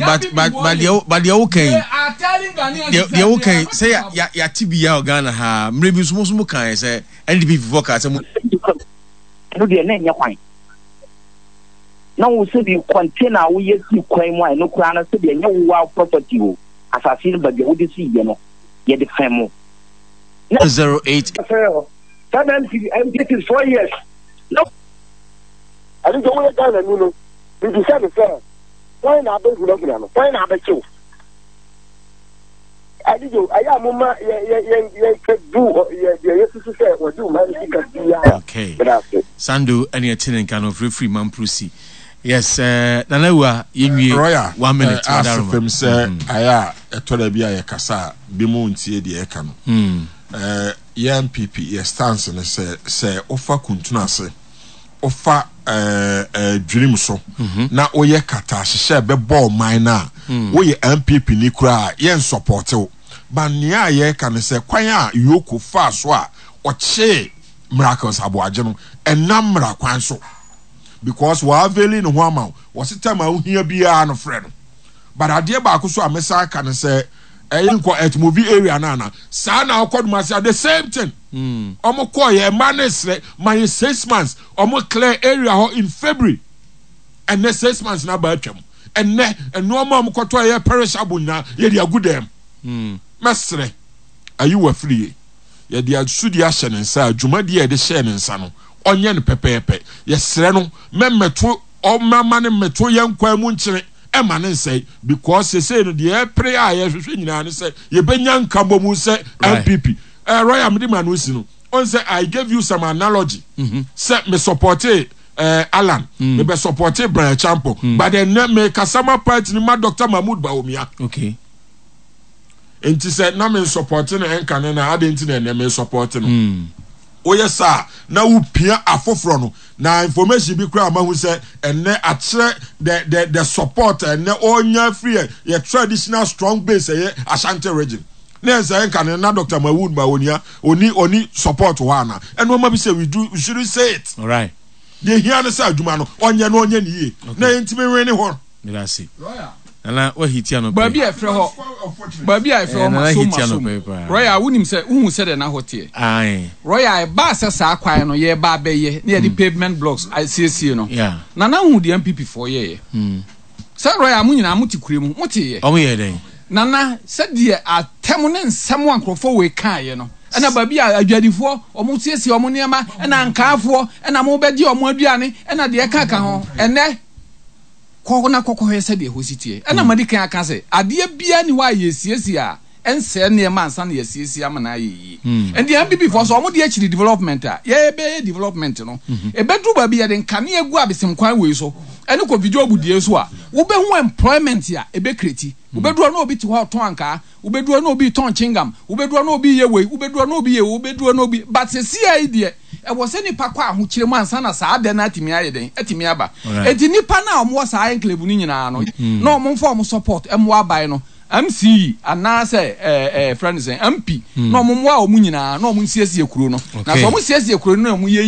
But but but deɛ but deɛ woka yi deɛ woka yi sɛ ya yɛate bi ya wɔ Ghana ha mmerɛ bi nso mo nso mo kae sɛ NDP foɔ kaa sɛ mo. Ɛno deɛ na ɛnyɛ kwan. Na wo sɛbi container a woyɛ sii kwan mu a ɛno koraa no sɛbi ɛnyɛ wo wa property o asase no baabi a wode sii yɛ no yɛde fɛm mo. Na. 08. Saa na MP MP 4 years. Na. Ɛno nti woyɛ Ghanani no, mebisa no sɛ, hwan na abɛhunahuna no? Hwan na abɛkye wo? Adidwo, ɛyɛ a momma yɛnka bu deɛ yɛsusu sɛ wɔde ɔman no sika biara. Okay. Meda ase. Sando ɛne ɛte ne nka no frɛfiri Mamprusi. Yes, uh, Nana Awua, yɛnwie. Roya, 1 minute. Uh, ase fam sɛ ayɛ a ɛtɔ da bi a yɛkasa a bi mu ntie deɛ ɛka no. Yɛ NPP yɛ stance no sɛ wofa kuntunu ase, wofa dwirim so na woyɛ kata ahyehyɛ bɛbɔ ɔman no a, woyɛ NPP ni koraa a yɛn support wo. But nea a yɛreka no sɛ kwan a EOCO faa so a ɔkyee Miracles Aboagye no, ɛnam mmara kwan so because wɔ availi ne ho ama wo, wɔse time a wohia biara no frɛ no. But adeɛ baako so a mɛsan aka no sɛ ɛyɛ nkɔ ɛtmovi area no ana saa na ɔkɔ Dumasi a the same thing. Ɔmo kɔɔ yɛ mma ne srɛ ma yɛ 6 months, ɔmo clear area hɔ in February. Ɛnɛ 6 months na aba atwam. Ɛnɛ nneɛma a ɔmo kɔtɔ ɛyɛ perishable nyinaa yɛde agu dɛm. Mɛsrɛ ayi wɔ afiri yɛde asudi ahyɛ ne nsa a dwumadie a yɛde hyɛɛ ne nsa no ɔnyɛ no pɛpɛɛpɛ. Yɛsrɛ no mɛmmɛto ɔmama ne mmɛto yɛn kwan mu nkyene ɛma ne nsɛe because sesei no deɛ ɛpere a yɛhwehwɛ nyinaa ne sɛ yɛbɛnya nkabɔmu sɛ NPP. Royal mede ma no si no ɔn sɛ I gave you some analogy sɛ me supporte Alan, mebɛ supporte Brian Acheampong, but ɛnɛ mekasa ma party no ma Dr. Mahmood Bawumia. Nti sɛ na me nsupporte no ɛnka ne na adɛn nti na ɛnɛ me supporte no? Woyɛ saa na wopia afoforɔ no na information bi koraa mahu sɛ ɛnɛ akyerɛ the support ɛnɛ ɔnya firi yɛ traditional strong base ɛyɛ Ashanti Region na ɛsɛ ɛnka ne na Dr. Mahmood Bawumia oni support hɔ ana ɛno ɔma bi sɛ we shouldn't say it. All right. Deɛ hia no sɛ adwuma no ɔnyɛ no ɔnyɛ ne yie na yɛntumi nwene hɔ. Meda ase. Nana wahiti anɔpɛ. Baabi a ɛfrɛ hɔ, baabi a ɛfrɛ hɔ masom masom. Royal, wonim sɛ wohu sɛdeɛ na hɔ teɛ. Royal, ɛbaa sɛ saa kwan no yɛreba abɛyɛ na yɛde pavement blocks asiesie no. Nana hu deɛ NPP foɔ yɛeɛ. Sɛ Royal, mo nyinaa mote kure mu, moteeɛ. Wɔn yɛɛ dɛn? Nana, sɛdeɛ atɛm ne nsɛm a nkurɔfoɔ wei kaeɛ no, ɛna baabi a adwadifoɔ wɔn siesie wɔn nneɛma, ɛna ankaafoɔ, ɛna mobɛgye wɔn aduane, ɛna deɛ ɛka ka ho. Ɛnnɛ, kɔ na kɔkɔhwɛ sɛdeɛ ɛhɔ si teɛ. Ɛna madi kan aka sɛ, adeɛ biara nni hɔ a yɛsiesie a ɛnsɛe nneɛma ansa na yɛasiesie ama no ayɛ yie. Ɛnti NPP foɔ sɛ wɔn de akyiri development a, yɛbɛyɛ development no. Ɛbɛduru baabi yɛde nkanea gu abesem kwan wei so ɛne Kofi Job deɛ so a, wobɛhu employment a ɛbɛ create. Wobɛduru hɔ na obi te hɔ a ɔtɔn ankaa, wobɛduru hɔ na obi retɔn chewing-gum, wobɛduru hɔ na obi reyɛ wei, wobɛduru hɔ na obi reyɛ wei, wobɛduru hɔ na obi, but seesei yi deɛ, ɛwɔ sɛ nnipa kɔ ahokyere mu ansa na saa dɛ no atumi ayɛ dɛn? Atumi aba. Enti nnipa no a wɔwɔ saa enclave no nyinaa no, na wɔmfa wɔn support mmoa aban no, MCE anaasɛ ɛɛ ɛɛ frɛ no sɛn, MP, na wɔmmoa wɔn nyinaa na wɔnsiesie kuro no. Na sɛ wɔsiesie kuro no na wɔyɛ